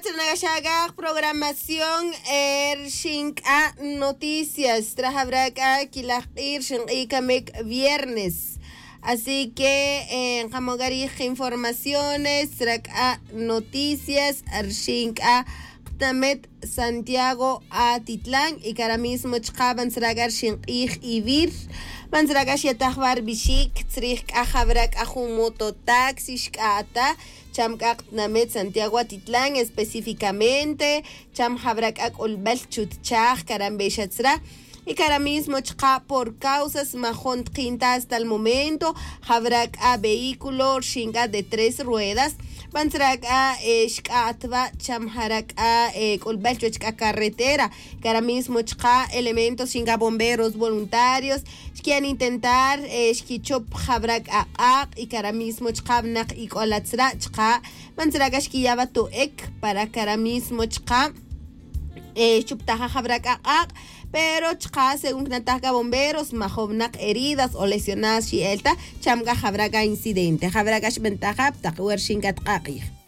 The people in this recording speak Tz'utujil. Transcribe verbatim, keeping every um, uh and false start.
Tzrnakaxak'aj programación, rxin k'a noticias trajabra k'a kilaj q'ij rxin q'ij kamik viernes. Así que nqamon k'a rij informaciones tzra k'a noticias rxin k'a qtnamet santiago atitlan y kara mismo chqa' ban tzra k'a rxin q'ij ivir. Ban tzra k'a xyataj va rbixic tzrij k'a jabra k'a jun mototaxi xk'a'ta cham k'a qtnamet santiago atitlan específicamente cham jabra k'a k'ulbel chutchaj karambexa tzra. Y kara mismo chqa' por causas majon tqinta hasta el momento jabra k'a vehículo rxin k'a de tres ruedas. Ban tzra k'a xk'a'at va cham jara k'a k'ulbel chuwech k'a carretera. Kara mismo chqa' elementos rxin k'a bomberos voluntarios xkiyan intentar xkichop jabra k'a q'aq' y kara mismo chqa' vnak ik'ola tzra' chqa' ban tzra' k'a xkiya' va to'ek para kara mismo chqa' xchuptaja jabra k'a q'aq'. Pero chqa' según knataj k'a bomberos majovnak heridas o lesionadas xi'el ta cham k'a jabra k'a incidente jabra k'a xbentaja ptaq wer xin k'a tq'a' q'ij.